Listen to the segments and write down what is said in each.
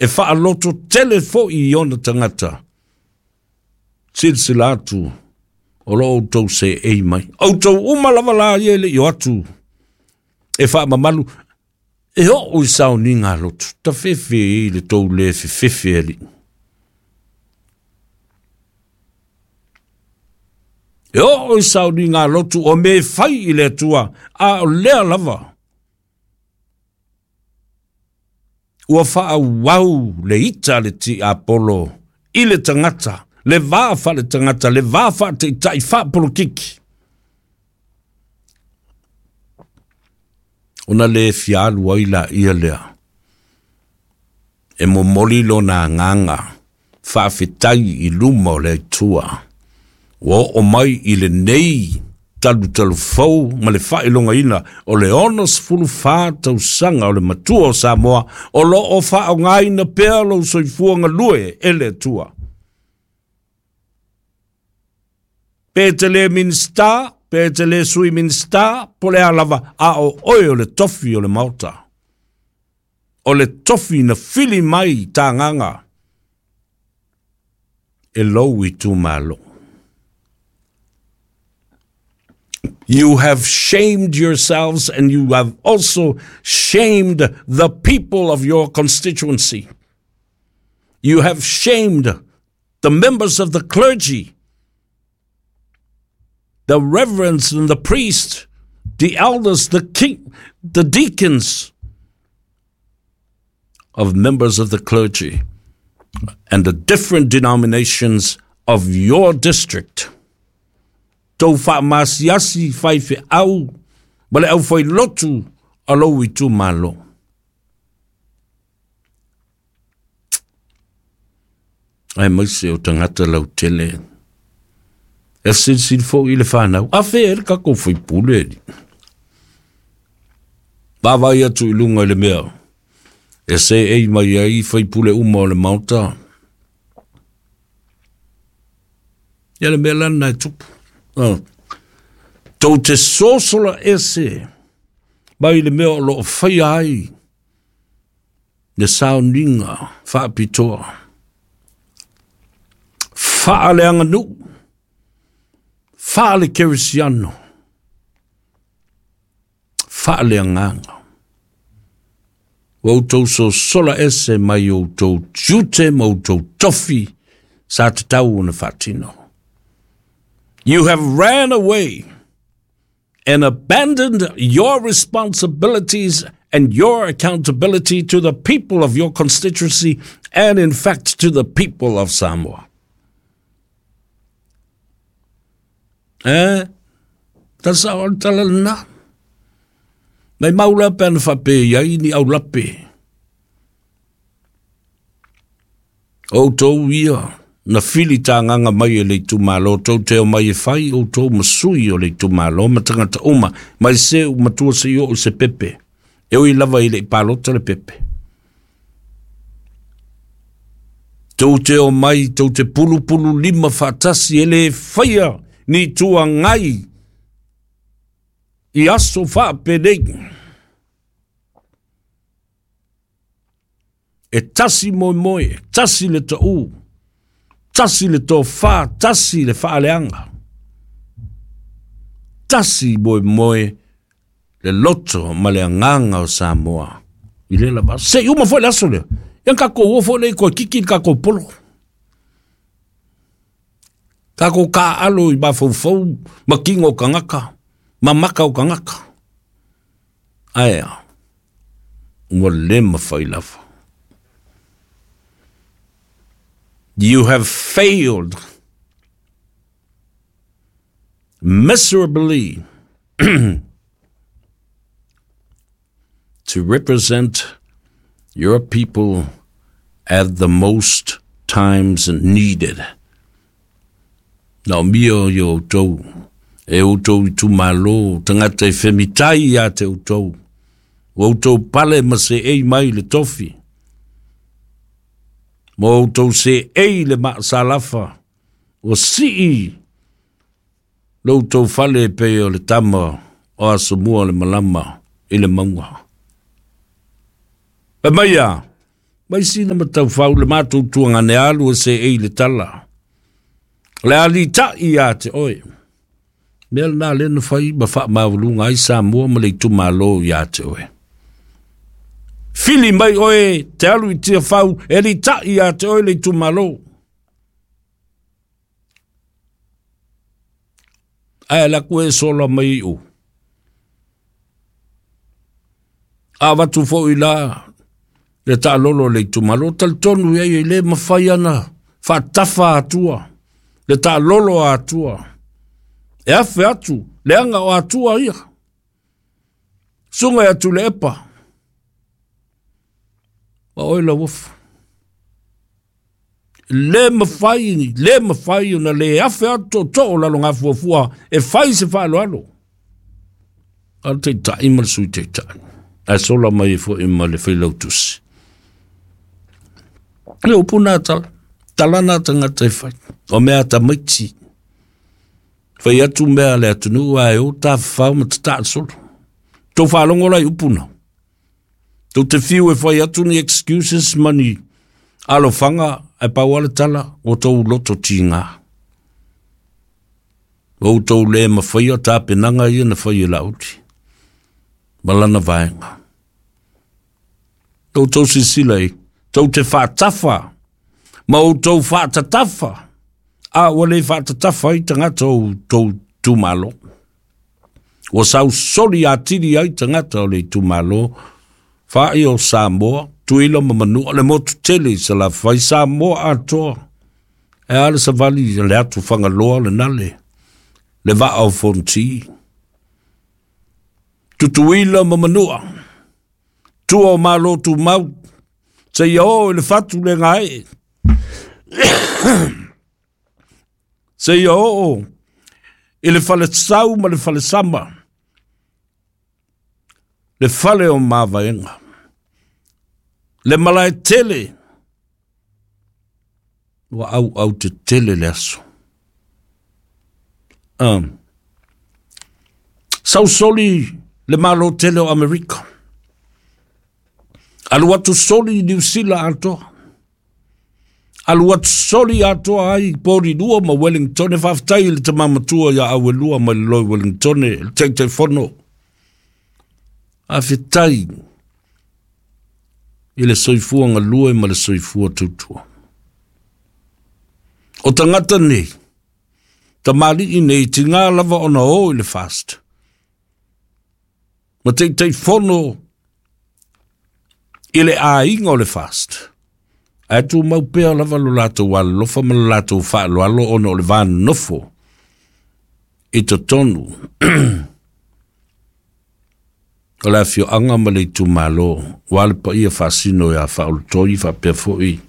E faalototele foi i ona tagata. Silasila atu o lo o outou seei mai. Outou uma lava la ia e le i o atu e faamamalu e oo i sauniga a lotu. Tafefe i le tou le fefefe alii. E oo i sauniga a lotu o mea e fai i le Atua, a o lea lava ua faaauau le ita a le tiapolo i le tagata, le va faaletagata, le va faataitai faapolokiki, ona le fia alu ai laia lea e momoli lona agaga faafetai i luma o le Atua ua oo mai i lenei talutalufou ma le faailogaina o le 64 tausaga o le matua o Samoa o lo o faaaogaina pea lou soifua galue e le Atua. Pe te le Minisita, pe te le Sui Minisita, po o le a lava, a o oe o le tofi o le Maota. O le tofi na fili mai tagaga e lou itumalo. You have shamed yourselves and you have also shamed the people of your constituency. You have shamed the members of the clergy, the reverends and the priests, the elders, the king, the deacons of members of the clergy and the different denominations of your district. Tou faamasiasi faifeau ma le aufailotu a lou itumalo. Aemaise o tagata lautele. E silasila foi i le fanau, a fea ai le tatou faipule alii. Vaavaai atu i luga i le mea e seei mai ai faipule uma o le Maota. Ia le mea la lena e tupu. Oh. Tou te sosola ese mai le mea o lo o faia ai le sauniga faapitoa. Faaleaganuu, faale-kerisiano, faaleagaga. Ua outou sosola ese mai outou tiute ma outou tofi sa tatau ona faatino. You have ran away and abandoned your responsibilities and your accountability to the people of your constituency and in fact to the people of Samoa. Eh, ta sa o tala lena. Mai mau la pe ana whape i ai ni au lape. Outou ia, na fili tānganga mai e le itumalo, tou te o mai e whai outou ma sui o le itumalo, ma tangata uma, mai se u matua se i o se pepe. E ui lava i le i palota le pepe. Tou te o mai, tou te pulupulu lima faatasi e le faia ni tuangai i aso faapenei. E tasi moemoe, tasi le taʻu, tasi le tofa, tasi le faaleaga, tasi moemoe le loto ma le agaga o Samoa i lea lava aso. Se i uma foi le aso lea, ia tatou o foi lea i toe kiki le tatou polo. Tatou taaalo i mafaufau ma tino o tagata, ma maka o tagata. Ae a, ua le mafai lava. You have failed miserably to represent your people at the most times needed. Naomia i outou, e outou itumalo, tagata e femitai ia te outou, ua outou pale ma seei mai le tofi, ma outou seei le maasalafa, ua sii lo outou fale e pei o le tama o Asomua le malama i le mauga. Fai mai a, Mai sina mataufau le matou tuagane alu e seei le tala. O le a litaʻi ia te oe. Mea lena lea na fai ma faamaualuga ai Samoa ma le itumalo ia te oe. Fili mai oe te alu i Tiafau e litaʻi ia te oe le itumalo. Ae ala atu e sola mai i u. A avatu foi la le taalolo o le itumalo, talitonu i ai e le mafai ana faatafa atua le taalolo a Atua. E afe atu leaga o Atua ia. Suga ia Tuilaepa ma oe Lauofo. Le mafai, le mafai ona le afe atu tootoo o Lalogafuafua e fai se faaaloalo. A le Taitai ma le Sui Taitai. Ae sola mai ai foi ma le Failautusi. Le upu nā tala, tala nā tagata e fai. O mea tamaiti. Fai atu mea a le atunuu ae o tafafao ma tataa le solo. Tou faalogo la i upu na. Tou te fiu e fai atu ni excuses ma ni alofaga ae pau lava le tala ua tou loto tiga. Ua outou le mafaia tapenaga ia na fai e Laauli ma lana vaega. Outou silasila i, tou te faatafa ma outou faatatafa, a ua le faatatafa ai tagata o outou itumalo. Ua sausoli atili ai tagata o le itumalo faai o Samoa, Tutuila ma Manua, le motu tele i Salafai, Samoa atoa. E a le savali le atu Fagaloa lena le vaa o Fonoti. Tutuila ma Manua, tua o Malo Tumau, seia oo i le fatu le gaee, seia oo i le falesau ma le falesama, le fale o Mavaega, le malae tele, ua auau tetele le aso. Sausoli le Malo tele o Amerika. Alu atu soli i Niu Sila atoa. Alu atu soli atoa ai i Porirua ma Wellingtone. Faafetai i le tama matua ia Auelua mai le Loi Wellingtone, le Taitaifono. Faafetai i le soifua galue ma le soifua tautua. O tagata nei, tamalii nei, tiga lava ona o i le FAST. Ma Taitaifono i le aiga o le FAST. Ae tumau pea lava lo latou alolofa ma lo latou faaaloalo ona o le va nofo i totonu o le afioaga ma le itumalo, ua le paia faasino ia Faaulutoi faapea foi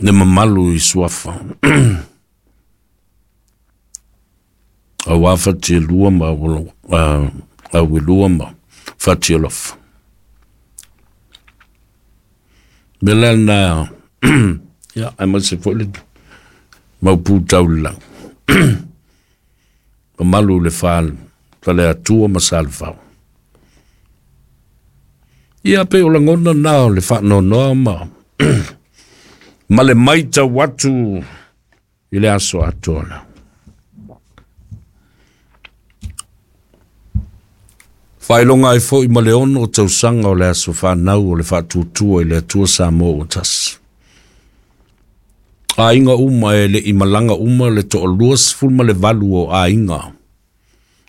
le mamalu i Suafa. Aua Fatialua ma Auelua ma Fatialofa. Mea la lena, ia, aemaise foi le mau pū tau le lau. Mamalu i le Faleatua ma Salefao. Ia, pei o lagona na o le faanoanoa ma le maitau atu i le aso atoa la. Faailoga ai foi ma le 6 tausaga o le aso fanau o le faatuatua i le Atua Samoa ua tasi. Aiga uma e le i malaga uma le 28 o aiga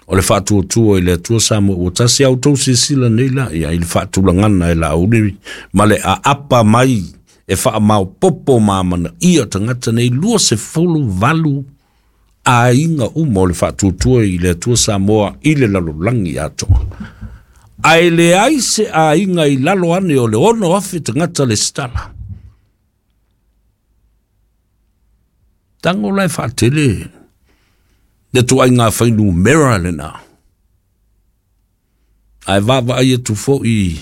o le faatuatua i le Atua Samoa ua tasi. A outou silasila nei la ia i le faatulagana e Laauli ma le aapa mai e faamaopopo ma amanaia tagata nei 28 aiga uma o le faatuatua i le Atua Samoa i le lalolagi atoa. Ae leai se aiga i lalo ane o le 6,000 tagata le stala. Tango la e faatele le tuaiga fuainumera lena. Ae vaavaai atu foi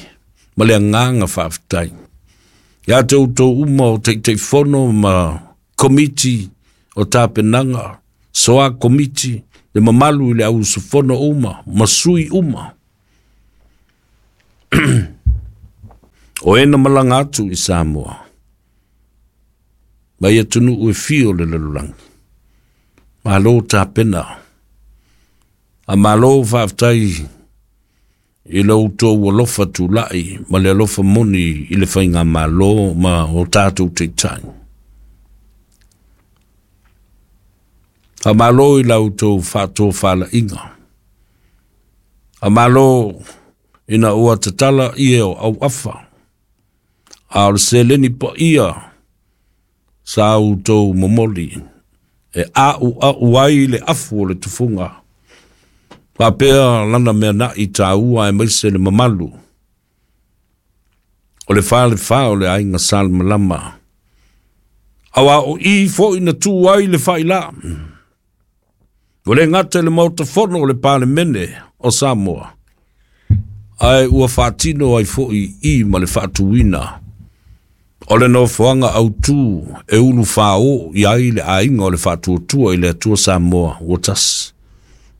ma le agaga faafetai ia te outou uma o Taitaifono ma komiti o tapenaga, soa komiti, le mamalu i le au usufono uma ma sui uma. O e na malaga atu i Samoa, mai atunuu e fia o le lalolagi. Malo tapena, a malo faafetai i lo outou alofa tulai ma le alofa moni i le faigamalo ma o tatou taitai. Faamalo i la outou faatofalaiga. Faamalo ina ua tatala ie o auafa, a o le seleni paia sa outou momoli e a'ua'u ai le afu o le tufuga. Faapea lana mea na'i taua aemaise le mamalu o le falefa o le aiga Salemalama. Aua o i foi na tu ai le faila. Ua le gata i le Maota Fono o le Palemene o Samoa, ae ua faatino ai foi i ma le faatuina o le nofoaga autu e ulufāō i ai le aiga o le Faatuatua i le Atua Samoa ua tasi.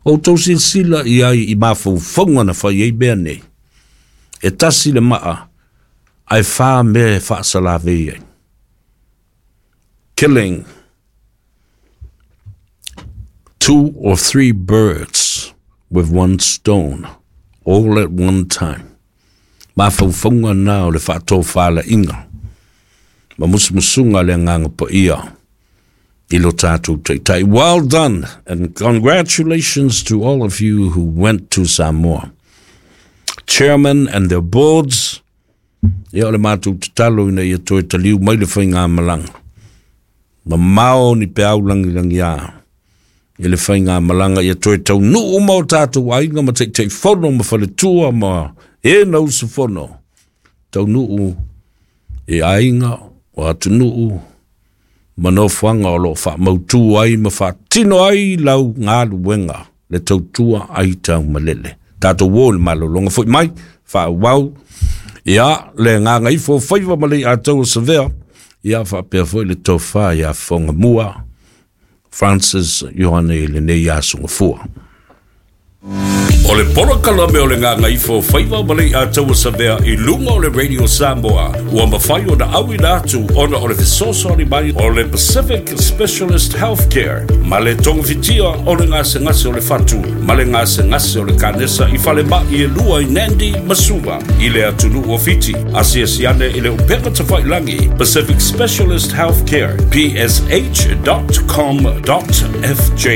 Ua outou silasila i ai i mafaufauga na fai ai mea nei. E tasi le maa, ae fa mea e faasalavei ai. Killing two or three birds with one stone, all at one time. Mafaufauga na o le faatofalaiga ma musumusuga le Agaga Paia i lo tatou taitai. Well done and congratulations to all of you who went to Samoa. Chairman and their boards, ia o le matou tatalo ina ia toe taliu mai le faigamalaga. Mamao ni peau langilangiā i le faigamalaga ia toe taunuu ma o tatou aiga ma taitaifono ma faletua ma e na usufono. Taunuu e aiga o atunuu ma nofoaga o loo faamautu ai ma faatino ai lau galuega le tautua ai taumalele. Tatou o i le malologa foi mai, faaauau ia le gagaifo o faiva ma le Aiataua Savea, ia faapea foi le tofa ia Fogamua Francis Ioane i lenei aso gafua. O le polokalame o le Gagaifo Faiva ma le Ataua Savea i luga o le Radio Samoa ua mafai ona auina atu ona o le fesoasoani mai o le Pacific Specialist Healthcare ma le togafitia o le gasegase o le fatu ma le gasegase o le kanesa i falemai e lua i Nandi ma Suva i le atunuu o Fiti. Asiasi ane i le upega tafailagi Pacific Specialist Healthcare psh.com.fj.